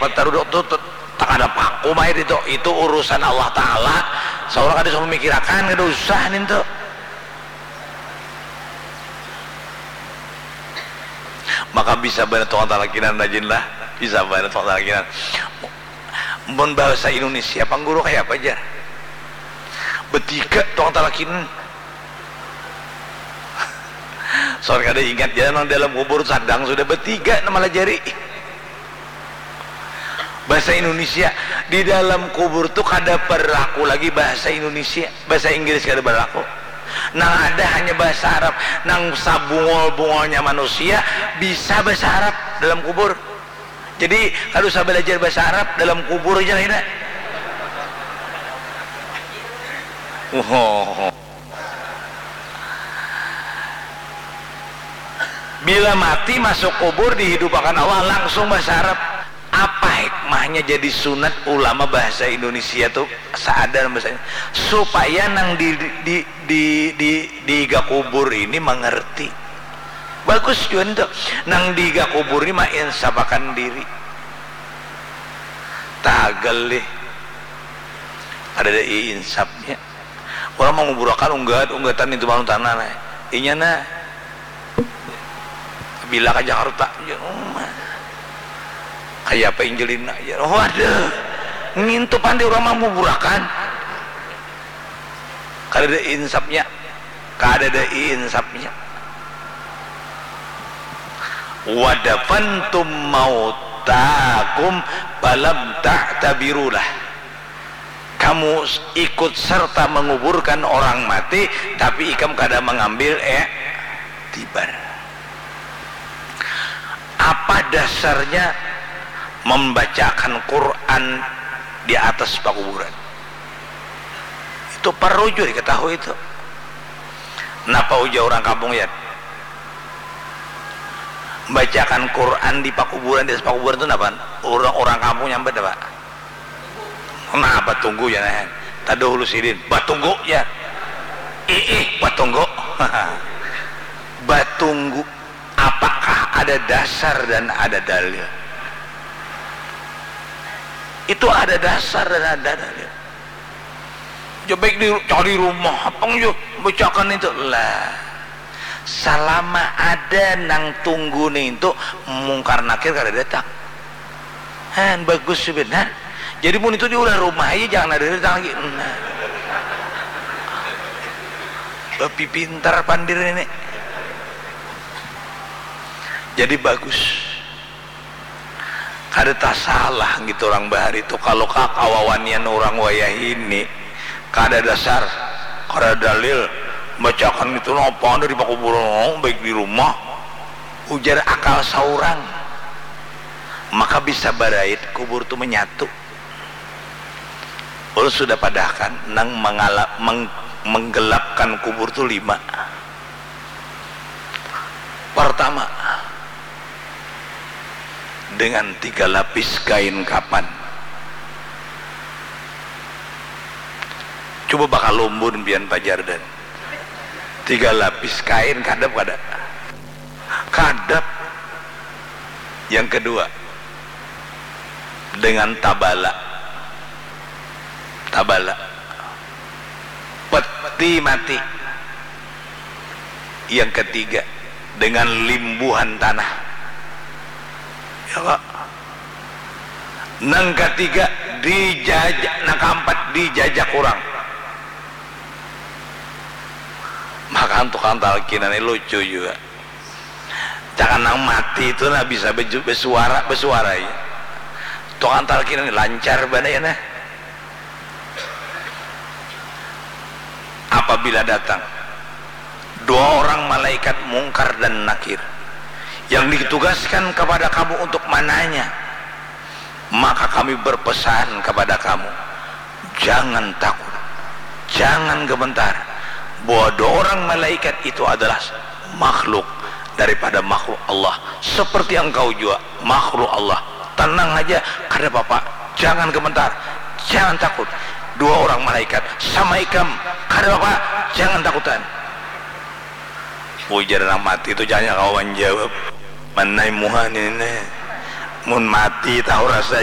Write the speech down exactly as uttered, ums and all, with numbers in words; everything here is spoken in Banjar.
Petaruduk tu takada paku mai itu, itu urusan Allah Ta'ala. Saurang kada usah memikirakan, kada usah nintu. Maka bisa banar tukang talakinan rajin lah, bisa banar tukang talakinan. Mun bahasa Indonesia pang guru kaya apa jar? Betiga tukang talakinan. Soal kada ingat ja nang dalam kubur sadang sudah betiga nang malajari. Bahasa Indonesia di dalam kubur tu kada berlaku lagi bahasa Indonesia, bahasa Inggris kada berlaku. Nang ada hanya bahasa Arab. Nang sabungol-bungolnya manusia bisa bahasa Arab dalam kubur. Jadi kada usah belajar bahasa Arab dalam kubur aja lah ina. Wow. Bila mati masuk kubur dihidupakan Allah langsung bahasa Arab. Apa hikmahnya jadi sunat ulama bahasa Indonesia tu saadar bahasanya supaya nang di di di di di iga kubur ini mengerti. Bagus juga tu nang di iga kubur ini mainsapakan diri. Tagal lih. Ada ada insapnya. Orang manguburakan unggat-unggatan itu bangun tanah nah. Inya nah bila ka Jakarta, ya, oh, kaya apa Angelina, ya, waduh, ngintu pandi orang manguburakan, kada ada insapnya, kada ada insapnya. Wadafantum mautakum falam ta'tabirulah. Kamu ikut serta menguburkan orang mati, tapi ikam kada mengambil iktibar. Apa dasarnya membacakan Quran di atas pakuburan? Itu perlu juga diketahui itu. Napa ujar orang kampung ya? Bacakan Quran di pakuburan, di atas pakuburan itu napa? Orang, orang kampung nyambat apa? Nah, batunggu ya nah. Tadahulu sidin, batunggu ya. Iih, batunggu. Batunggu. Apakah ada dasar dan ada dalil? Itu ada dasar dan ada dalil. Jabek di cari rumah apa njo bacakan itu lah. Salama ada nang tunggu nih itu mungkar nakir kada datang. Han bagus sebenar. Jadi mun itu diulah rumah aja jangan ada datang lagi. Nah. Bapi pintar pandir ini. Jadi bagus. Kada tasalah gitu orang bahari tu kalau kakawawanian orang wayah ini kada dasar, kada dalil, bacakan itu napa ada di pakuburan orang baik di rumah ujar akal saurang maka bisa barait kubur tu menyatu. Ulun sudah padahkan nang mengala, meng, menggelapkan kubur tu lima. Pertama, dengan tiga lapis kain kapan. Coba bakal lumbun pian pajar dan tiga lapis kain kadap kada? Kadap. Yang kedua, dengan tabala. Tabala. Peti mati. Yang ketiga, dengan limbuhan tanah. Ya kak. Nang ketiga dijajak, nang keempat dijajak orang. Maka tukang talkinan ini lucu juga. Jangan nang mati itu nah bisa besuara besuara ya. Tukang talkinan ini lancar bana ya nah. Apabila datang dua orang malaikat mungkar dan nakir yang ditugaskan kepada kamu untuk mananya, maka kami berpesan kepada kamu, jangan takut, jangan gementar, bahwa dua orang malaikat itu adalah makhluk daripada makhluk Allah, seperti engkau juga makhluk Allah. Tenang aja, kada apa-apa, jangan gementar, jangan takut. Dua orang malaikat sama ikam, kada apa-apa, jangan takutan. Ujar nang mati tu jangan kawa manjawab. Manai muha nini ne. Mun mati tahu rasa